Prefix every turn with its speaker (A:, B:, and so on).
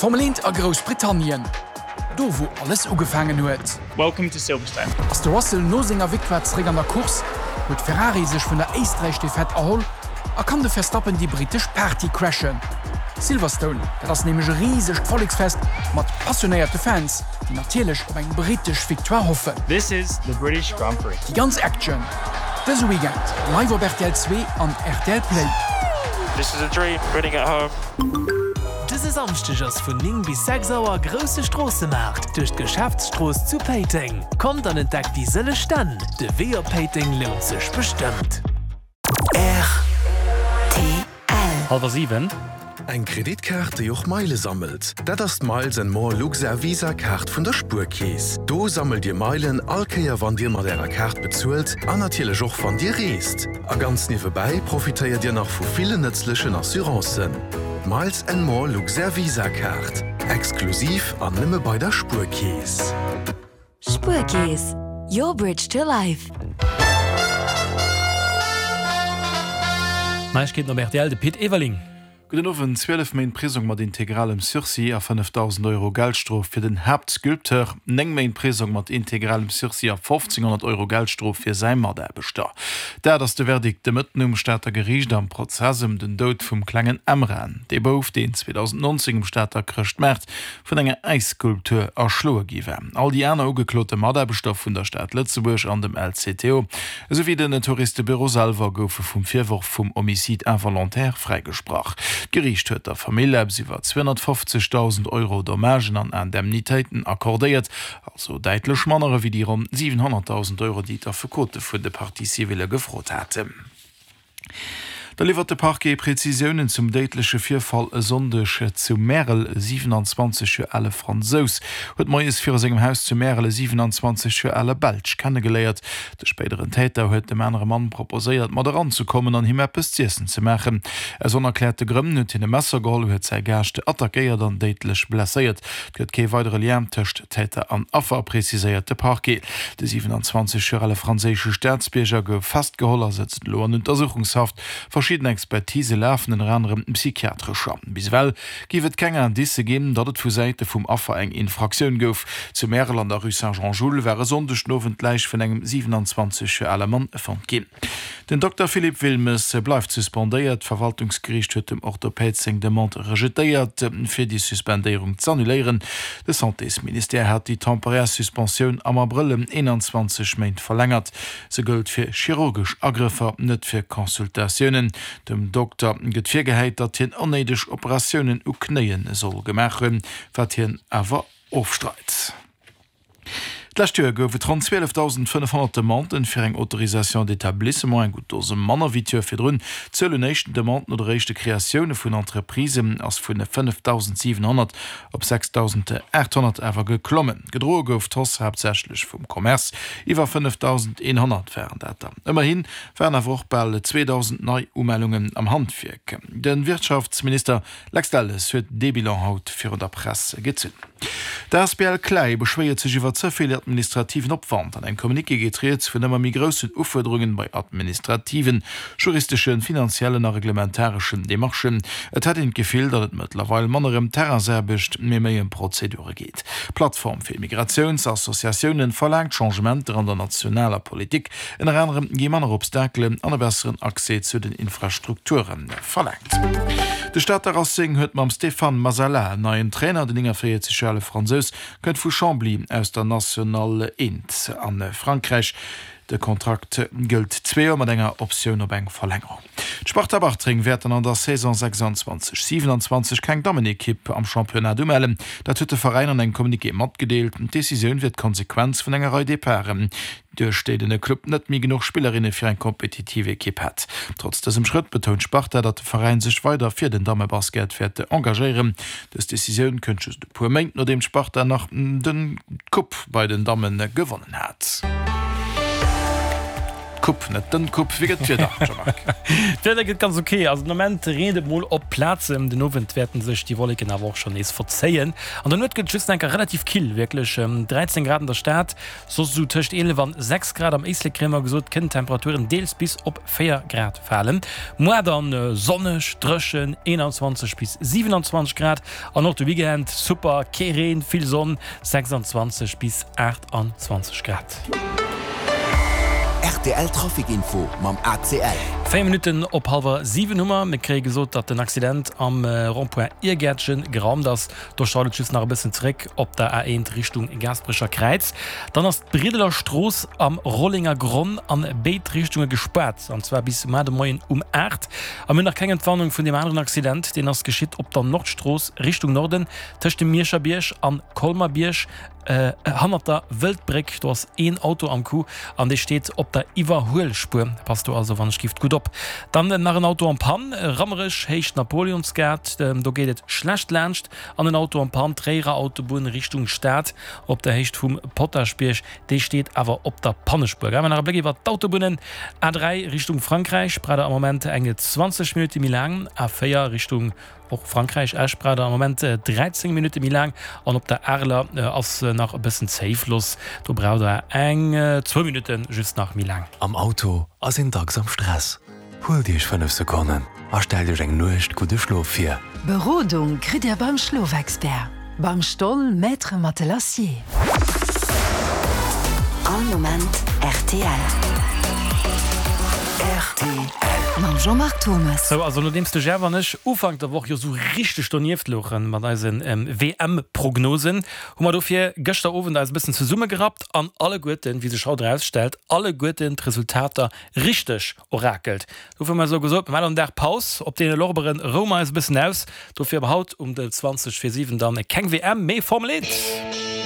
A: Formel 1 a Groussbritannien, do wou alles ugefaangen huet.
B: Welcome to Silverstone.
A: Ass de Russell no senger Victoire zeréck an der Course, huet Ferrari sech vun der Éisträich-Defaite erholl a kann de Verstappen déi brittesch Party crashen. Silverstone, dat ass nämlech e risegt Volleksfest mat passionéierte Fans, déi natierlech op eng brittesch Victoire hoffen.
B: This is the British Grand Prix.
A: Déi ganz Action dëse Weekend live op rtl 2 an rtl Play.
B: This is a dream, winning at home.
C: Dëse Samschdeg ass vun 9 bis 6 Auer grousse Stroossemaart duerch d'Geschäftsstrooss zu Péiteng. Kommt an entdeckt déi sëlleg Stänn. De Wee op Péiteng lount sech bestëmmt.
D: Rtl.
E: Halwer 7.
F: Eng Kreditkaart, déi och Meile sammelt, dat ass d'Miles and More Luxair Visa Kaart vun der Spuerkeess. Do sammelt Dir Meilen all Kéier wann Dir mat Ärer Kaart bezuelt an natierlech och wann Dir reest. A ganz niewebäi profitéiert Dir nach vu villen nëtzlechen Assurancen. D'Miles and More Luxair Visa Kaart, exklusiv an nëmme bei der Spuerkeess.
D: Spuerkeess, your bridge to life.
E: Neiegkeeten op rtl, de Pit Everling.
G: Gudden Owend. 12 Méint Prisong mat integralem Sursis a 5.000 Euro Geldstrof fir den Haaptsculpteur, 9 Méint Prisong mat integralem Sursis a 1.500 Euro Geldstrof fir säi Mataarbechter. Dat ass de Verdikt de Mëtten um Stater Geriicht am Prozess ëm den Doud vum klengen Emran. Dee Bouf, deen 2019 um Stater Chrëschtmaart vun enger Äisskulptur erschloe gi war. All déi aner ugeklote Mataarbechter vun der Stad Lëtzebuerg an dem LCTO, esou wéi den Touristebüro selwer goufe vum Virworf vum Homicide involontaire fräigesprach. D'Geriicht huet der Famill eppes iwwer 250.000 Euro Dommagen an Indemnitéiten accordéiert, also däitlech manner ewéi déi ronn 700.000 Euro, déi d'Affekote vun de Parties civiles gefrot haten. Da liwwert de Parquet Prezisiounen zum déidleche Virfall e Sonndeg zu Märel. E 27 Joer ale Fransous huet moies viru sengem Haus zu Märel e 27 Joer ale Belsch kennegeléiert. De spéideren Täter huet dem anere Mann proposéiert, mat eranzekommen an him eppes z'iessen ze maachen. Aus onerkläerte Grënn huet hien e Messer geholl, huet säi Gaascht attackéiert an déidlech blesséiert. Et gëtt kee weidere Lien tëscht Täter an Affer, preziséiert de Parquet. De 27 Joer ale franséische Staatsbierger gouf festgeholl a sëtzt elo an Untersuchungshaft. Verschidden Expertise lafen, ënner anerem psychiatrescher. Bis ewell géif et keng Indicë ginn, datt et vu Säite vum Affer eng Infraktioun gouf. Zu Märel an der Rue Saint-Jean-Jules war e Sonndeg den Owend d'Läich vun engem 27 Joer ale Mann fonnt ginn. Den Dokter Philippe Wilmes bleift suspendéiert. D'Verwaltungsgeriicht huet dem Orthopäd seng Demande rejetéiert, fir déi Suspendéierung z'annuléieren. De Santésministère hat déi temporär Suspensioun am Abrëll ëm 21 Méint verlängert. Se gëllt fir chirurgesch Agrëffer, net fir Consultatiounen. Dem Dokter gëtt virgehäit, datt hien onnéideg Operatiounen u Knéie soll gemaach hunn, wat hien awer ofstreit. D'lescht Joer gouf et ronn 12.500 Demanden fir eng Autorisation d'établissement, eng gutt Dose manner wéi d'Joer virdrun. D'Zuel un éischten Demanden oder éischte Kreatioune vun Entreprisen ass vun 5.700 op 6.800 awer geklommen. Gedroe gouf d'Hausse haaptsächlech vum Commerce, iwwer 5.100 waren dat der. Ëmmerhi waren awer och bal 2.000 nei Umellungen am Handwierk. De Wirtschaftsminister Lex Delles huet dee Bilan haut virun der Press gezunn. D'asbl Clai beschwéiert sech iwwer ze vill administrativen Opwand. An engem Communiqué geet rieds vun ëmmer méi groussen Ufuerderungen bei administrativen, juristeschen, finanziellen a reglementareschen Demarchen. Et hätt een d'Gefill, datt et mëttlerweil manner ëm Terrainsaarbecht, mee méi ëm Prozedure geet. D'Plattform fir Immigratiouns-Associatiounen verlaangt Changementer an der nationaler Politik. Ënner anerem gi manner Obstakelen an e besseren Accès zu den Infrastrukture verlaangt. De Stater Racing huet mam Stéphane Masala en neien Trainer. Den 49 Joer ale Fransous kënnt vu Chambly aus der National 1 a Frankräich. De Kontrakt gëllt zwee Joer mat enger Optioun op eng Verlängerung. D'Sparta Bartreng wäert dann an der Saison 26, 27 keng Dammenekipp am Championnat umellen. Dat huet de Veräin an engem Communiqué matgedeelt. D'Decisioun wier d'Konsequenz vun enger Rei Departen. Duerch déi den Club net méi genuch Spillerinne fir eng kompetitiv Ekipp hätt. Trotz dësem Schrëtt betount d'Sparta, datt de Veräin sech weider fir den Dammebasket wäert engagéieren. Dës Decisioun kënnt just e puer Méint nodeem d'Sparta nach den d'Coupe bei den Damme gewonnen hat. D'Coupe, net den Coupe. Wéi gëtt d'Wieder, Jean-Marc?
E: D'Wieder gëtt ganz ok. Also den Ament reent et mol op Plazen. Den Owend wäerten sech déi Wolleken awer och schonn nees verzéien. An der Nuet gëtt et just enker relativ kill, wierklech 13 Grad an der Stad, soss esou tëscht 11 an 6 Grad. Am Éislek kréie mer gesot, kënnen d'Temperaturen deels bis op 4 Grad falen. Muar dann sonneg, dréchen, 21 bis 27 Grad. An och de Weekend super, kee Reen, vill Sonn, 26 bis 28 Grad.
H: Rtl Trafic Info mam ACL.
E: 4 Minutten op hallwer 7 hu mer. Mir kréie gesot, datt den Accident am Rond-point Irgäertchen geraumt ass. Do staut et just nach e bëssen zeréck op der A1 Richtung Gaasperecher Kräiz. Dann ass d'Briddeler Strooss am Rollenger Gronn an béid Richtunge gespaart, an zwar bis mar de Moien um 8. A mir hunn nach keng Entwarnung vun deem aneren Accident. Deen ass geschitt op der Nordstrooss Richtung Norden, tëscht dem Mierscher Bierg an Colmer-Bierg, hannert der Wëldbréck. Do ass een Auto am Coup an dee steet op der Iwwerhuelspuer. Passt do also wann ech gift gutt op. Dann nach en Auto en Panne, Rammerech, Héicht Napoleonsgate. Do geet et schlecht laanscht. An en Auto en Panne, Tréierer Autobunn Richtung Stad op der Héicht vum Potaschbierg. Dee steet awer op der Pannespuer. Awer nach e Bléck iwwer d'Autobunnen, A3 Richtung Frankräich, braucht der am Moment eng 20 Minutte méi laang, A4 Richtung och Frankräich, Esch, braucht der am Moment 13 Minutte méi laang an op der Areler ass nach e bëssen Zéifloss, do braucht der eng zwou Minutte just nach méi laang.
F: Am Auto ass een dacks am Stress. Huelt Iech 5 Sekonnen a stellt Iech eng Nuecht gudde Schlof vir.
D: Berodung kritt Dir beim Schlofexpert, beim Stoll Maître Matelassier.
I: All Moment rtl.
D: Rtl. Mam Jean-Marc Thomas.
E: Sou, also nodeems de Jeff an ech Ufank der Woch jo sou richteg donieft louchen mat eise WM-Prognosen, hu mer dofir gëschter Owend eis e bëssen zesummegerappt an alleguerten, wéi sech haut erausstellt, alleguerten d'Resultater richteg orakelt. Dofir hu mer esou gesot, mir maachen en Dag Paus, op deene Lorberen roue mer eis e bëssen aus. Dofir ab haut um 20 vir 7 dann keng WM, mee Formel 1.